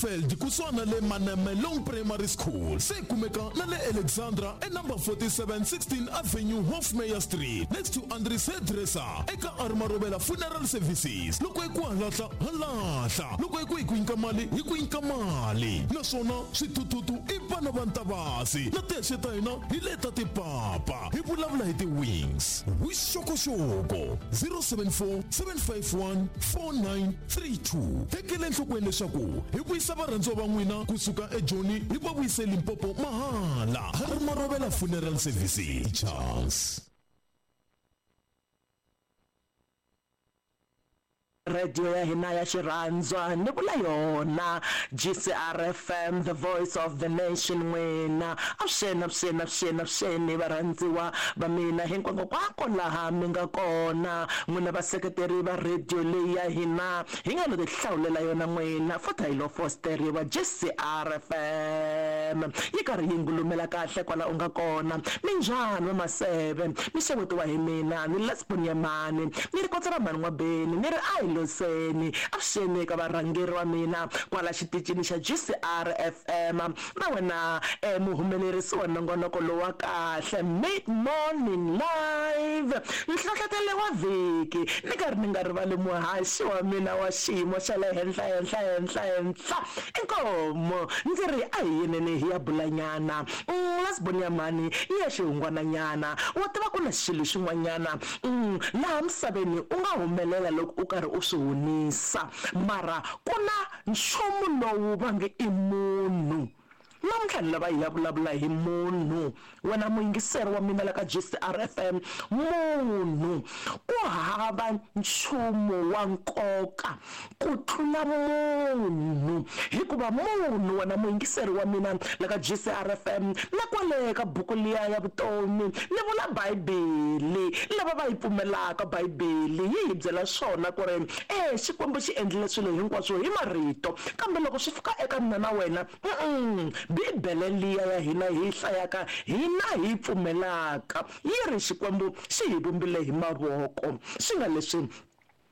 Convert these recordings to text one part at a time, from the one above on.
Feld kusuhani na le Manemelong Primary School se yi kumeka na le Alexandra e number 47 16 Avenue Hofmeyr Street next to Andries Hairdresser eka R Marobela Funeral Services. Loko hi ku halahla ha lahla, loko hi ku hi ku nyika mali hi ku nyika mali, naswona swithuthuthu i vana va Ntavasi na tihexe ta hina hi leta tipapa. Hi vulavula hi ti-wings. Vuxokoxoko 074 751 4932. Tekela enhlokweni leswaku hi vuyisa varhandziwa va n'wina kusuka eJoni hi va vuyise Limpopo mahala. Harry Marobela Funeral Services. Charles. Radio ya hina ya xirhandzwa ni vula yona GCR FM the voice of the nation n'wina avuxeni avuxeni avuxeni avuxeni varhandziwa va mina hinkwakokwako laha mi nga kona n'wina vaseketeri va radio leyi ya hina hi nga lo tihlawulela yona n'wina futhi hi lo fosteriwa GCR FM yi karhi yi ngulumela kahle kwala u nga kona minjhani va maseve mi xewetiwa hi mina ni Lesbonyamani ni ri kotsa ra mhani N'wabeni ni ri a hi loseni avuxeni eka varhangeri va mina kwala xitichini xa GCR FM na wena muhumelerisi wa nongonoko lowu wa kahle Mid Morning Live nhlohlotelo wa vhiki ni karhi ni nga rivali muhaxi wa mina wa xiyimo xa le henhla henhla henhla henhla inkomu ndzi ri a hi yeneni hi ya bulanyana Lesbonyamani yi ya xihungwananyana wa tiva ku na xilo xin'wanyana laha misaveni u nga humelela loko u karhi u swi hunisa mara ku na nchumu lowu va nge i munhu. Namuntlha ni lava hi ya vulavula hi munhu. Wena muyingiseri wa mina la ka GCR FM, munhu. Ku hava nchumu wa nkoka ku tlula munhu. Hikuva munhu, wena muyingiseri wa mina la ka GCR FM, na kwale ka buku liya ya vutomi, ni vula Bibele, lava va yi pfumelaka Bibele yi hi byela swona ku ri, E, Xikwembu xi endlile swilo hinkwaswo hi marito. Kambe loko swi fika eka mina na wena, uh-uh, Bibele liya ya hina hi yi hlayaka, hina hi yi pfumelaka, yi ri Xikwembu xi hi vumbile hi mavoko. Swi nga leswi,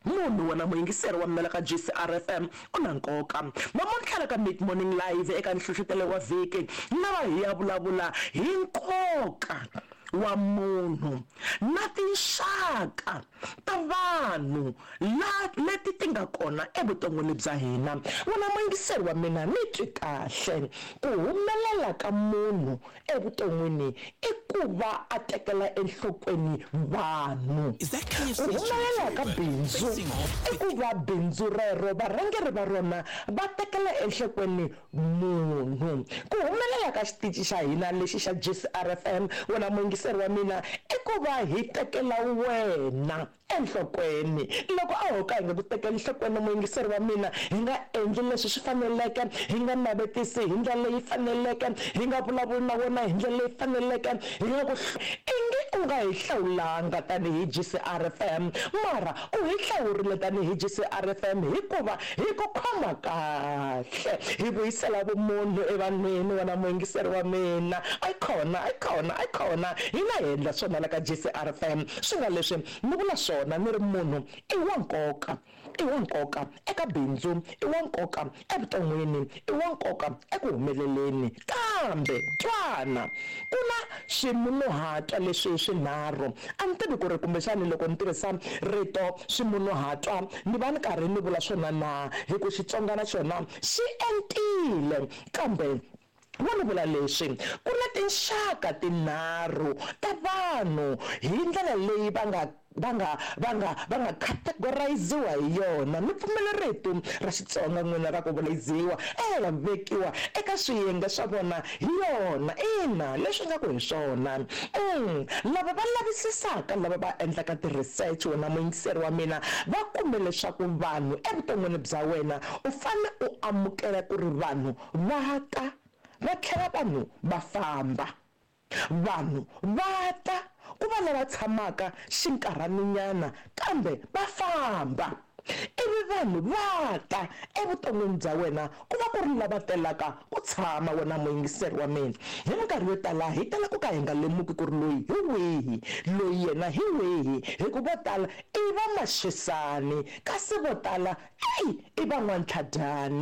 munhu, wena muyingiseri wa mina la ka GCR FM, u na nkoka. Namuntlha la ka Mid Morning Live eka nhlohlotelo wa vhiki, ni lava hi ya vulavula hi nkoka wa munhu na tinxaka ta vanhu la leti ti nga kona evuton'wini bya hina. Wena muyingiseri wa mina, ni twi kahle. Ku humelela ka munhu evuton'wini i ku va a tekela enhlokweni vanhu. Ku humelela ka bindzu i ku va bindzu rero varhangeri va rona va tekela enhlokweni munhu. Ku humelela ka xitici xa hina lexi xa GCRFM, wena muyingiseri wa mina, i ku va hi tekela wena enhlokweni. Loko a ho ka hi nga ku tekeli enhlokweni muyingiseri wa mina, hi nga endli leswi swi faneleke, hi nga navetisi hi ndlela leyi faneleke, hi nga vulavuli na wena hi ndlela leyi faneleke, hi nga ku ingi u nga hi hlawulanga tanihi GCRFM, mara u hi hlawurile tanihi GCRFM hikuva hi ku khoma kahle, hi vuyisela vumunhu evanhwini, wena muyingiseri wa mina. A yi kona, a yi kona, a yi kona. Hina hi endla swona la ka GCRFM. Swi nga leswi ni vula swona ni ri munhu i wa nkoka, i wa nkoka eka bindzu, i wa nkoka evuton'wini, i wa nkoka eku humeleleni. Kambe twana, ku na swimunhuhatwa leswi swinharhu. A ni tivi ku ri kumbexani loko ni tirhisa rito swimunhuhatwa ni va ni karhi ni vula swona na, hi ku Xitsonga na xona xi entile. Kambe vo ni vula leswi, ku na tinxaka tinharhu ta vanhu hi ndlela leyi va nga va nga va nga va nga categoriziwa hi yona. Mi pfumela rito ra Xitsonga n'wina ra ku vulayiziwa, e va vekiwa eka swiyenge swa vona hi yona. Ina, leswi nga ku hi swona. Umm, lava va lavisisaka, lava va endlaka ti-research, wena muyingiseri wa mina, va kume leswaku vanhu evuton'wini bya wena u fane u amukela ku ri vanhu va ta, va tlhela vanhu va famba. Vanhu va ta, ku va lava tshamaka xinkarhaninyana kambe va famba. Ivi vanhu va ta evuton'wini bya wena ku va ku ri lava telaka ku tshama, wena muyingiseri wa mina. Hi minkarhi yo tala hi tala ku ka hi nga lemuki ku ri loyi hi wihi, loyi yena hi wihi, hi ku vo tala i va maxisani, kasi vo tala, eyi, i van'wantlhadyani.